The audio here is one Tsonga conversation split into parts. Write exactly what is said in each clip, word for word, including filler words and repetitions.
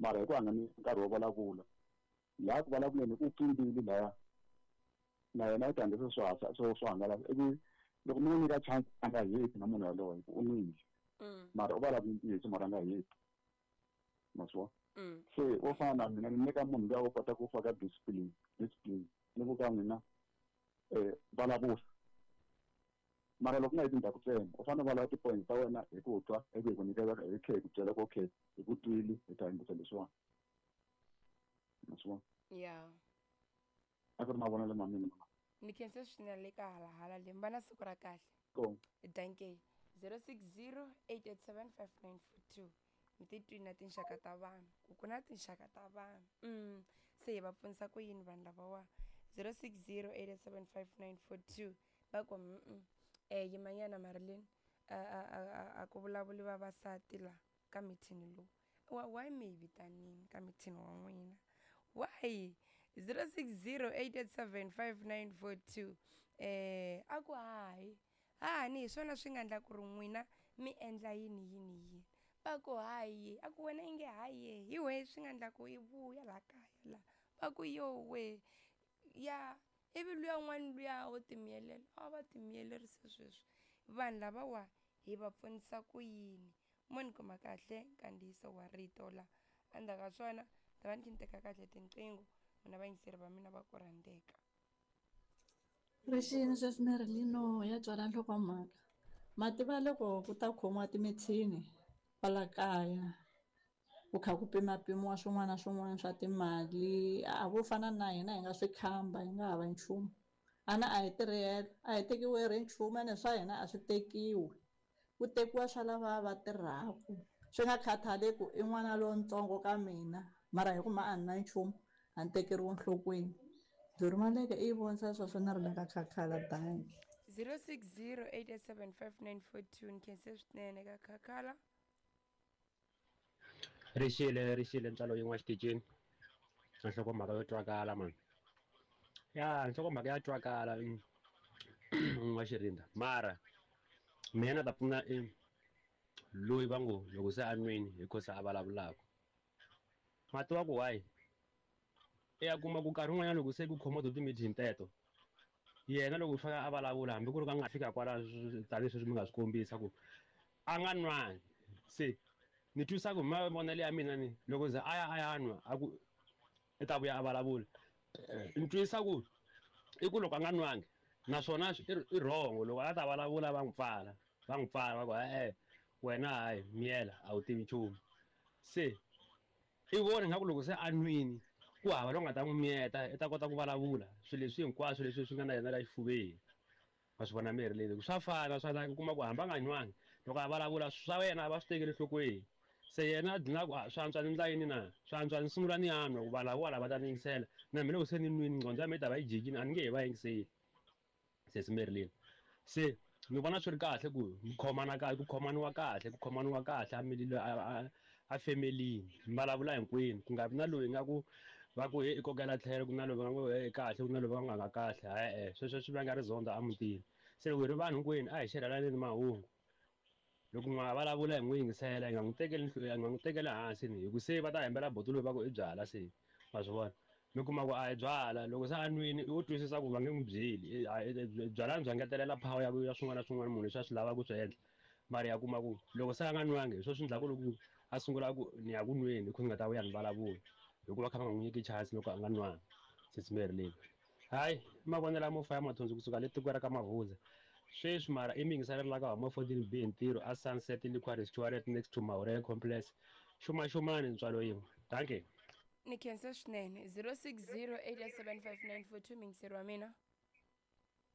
Mara hi ku a nga ni nkarhi wo vulavula laha ku vulavuleni u pfimbile laya na yena u ta endla swo swo swo hangalasa ivi loko mi n'wi nyika chance a nga heti na munhu yaloye hi ku u nwile mara u vulavula ntiyiso mara a nga heti ma swi vona. Se wo fana na mina ni nyika munhu luya wo kota ku faka discipline discipline ni ku ka n'wina um vulavula mara loko u nga yi tindhawu ntsena u fanele u vulavula ti-point ta wena hi ku twa ivi hi ku nyiketa hi tlhe hi ku byela ku okay hi ku twile hi ta yingisa leswiwani ma swi vona. Ya a ku ri mavonelo ma mina. Ni khense swinene le ka halahala le mi va na siku ra kahle. Ko danke. Zero six zero eight eight seven five nine four two. Mi titwi na tinxaka ta vanhu ku ku na tinxaka ta vanhu mm se hi va pfunisa ku yini vanhu lavawa. Zero six zero eight eight seven five nine four two va ku mm eh yimanyana Marilyn a a a a ku vulavuli vavasati la ka mithini lowu wa why mi hi vitanini ka mithini wa n'wina why. Zero six zero eight eight seven five nine four two eh a ku hayi hahani hi swona swi nga endla ku ri n'wina mi endla yini yini yini va ku hayi a ku wena inge hayi hi wehe swi nga endla ku i vuya laha kaya la va ku yo we ya ivi luya un'wana luya wo timiyelela a va timiyelerise sweswi vanhu lavawa hi va pfunisa ku yini mo ni kuma kahle nkandziyiso wa rito la endzhaku ka swona ta va ni kha ni teka kahle tinqingho n'wina vayingiseri va mina va ku rhandzeka. Rixini sweswi Marilyn ya twala nhlokomhaka ma tiva loko ku ta khomiwa timithini kwala kaya ku kha ku pimapimiwa swin'wana na swin'wana swa timali a vo fana na hina hi nga swi khamba hi nga hava nchumu ana a hi tirhela a hi tekiwi ri nchumu ene swa hina a swi tekiwi ku tekiwa swa lava va tirhaku swi nga khathaleki i n'wana lontsongo ka mina mara hi ku ma a ni na nchumu a ni tekeriwi enhlokweni Durimaleke i vonisa sweswo na ri le ka Khakhala bangi. Zero six zero eight eight seven five nine four two ni khense swinene ka Khakhala. Rixile rixile ntswalo yin'we xitichini na nhlokomhaka yo twakala mani ya nhlokomhaka ya twakala n'wa Xirinda mara mina na ta pfuna i loyi va ngo loko se a nwini hi ko se a vulavulaka ma tiva ku why i ya kuma ku nkarhi wun'wanyana loko se ku khomiwa to ti-meeting teto yena loko u fika a vulavula hambi ku ri ka nga fika kwala tanihi sweswi mi nga swi kombisa ku a nga nwangi se ni twisa ku hi mavonelo ya mina ni loko ze a ya a ya nwa a ku i ta vuya a vulavula ni twisa ku i ku loko a nga nwangi naswona i wrong loko a ta vulavula va n'wi pfala va n'wi pfala va ku e-e wena hayi miyela a wu tivi nchumu se i vona ingaku loko se a nwini ku hava loyi nga ta n'wi miyeta i ta kota ku vulavula swilo leswi hinkwaswo leswi swi nga na yena la xifuveni wa swi vona mirhi leyi swa fana swa la kuma ku hambi a nga nwangi loko a vulavula swa yena a va swi tekeli enhlokweni se yena a dlina ku swi antswa ni ndla yini na swi antswa ni sungula ni ya nwa ku vanhu lavawa lava ta ni yingisela na mina loko se ni nwini nqondo ya mina yi ta va yi jikile a ni nge he va yingiseli sesi Marilyn se ni vona swi ri kahle ku mi khomana kahle ku khomaniwa kahle ku khomaniwa kahle a mililo a a femelini mi vulavula hinkwenu ku nga vi na loyi nga ku va ku he i kokela tlhelo ku na loyi va nga ku he kahle ku na loyi va nga nga kahle e-e sweswo swi vanga rizondho emutini se loko hi ri vanhu hinkwenu a hi xerhelaneni mahungu loko n'wana vulavula hi n'wi yingisela hi nga n'wi tekeli hi nga n'wi tekeli hansi ni hi ku se va ta hembela boti loyi va ku i byala se ma swi vona mi kuma ku a hi byala loko se a nwini u twisisa ku va nge n'wi byeli byala bya ngetelela power ya ya swin'wana na swin'wana munhu leswi a swi lavaka ku swi endla mara ya kuma ku loko se a nga nwangi hi swona swi endlaku loko a sungula ku ni ya ku nweni hi ku ni nga ta vuya ni vulavula hikuva kha va nga n'wi nyiki chance loko a nga nwangi sesi Marilyn hayi mavonelo ya mo faya mathonsi kusuka le tikweni ra ka Mavhudza sweswi mara i mi yingiselela la ka huma fourteen B hi ntirho a Sunset Liquor Restaurant next to Mahorela Complex xumaxumani ntswalo yin'we dankie. Ni khense swinene zero six zero eight eight seven five nine four two muyingiseri wa mina.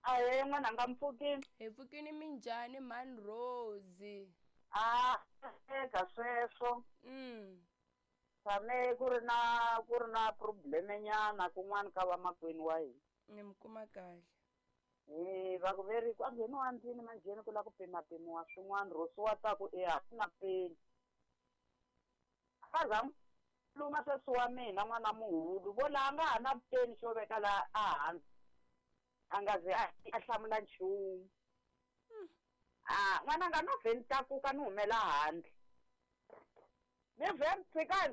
Ahee n'wananga mpfukini. Hi pfukini minjhani mhani Rose? A eka sweswo mm tshame ku ri na ku ri na problem nyana kun'wana ka vamakwenu wa hina. Ni mi kuma kahle. Eh va ku veri ku a ngheniwa ndlwini manjheni ku lava ku pimapimiwa swin'wana Rose wa ta ku e a ku na peni. A za luma sweswi wa mina n'wana muhulu vo laha nga ha na peni xo veka laha a hansi a nga ze a hlamula nchumu. A n'wananga no vhe ni tlakuka ni humela handle ni vhe ni tshika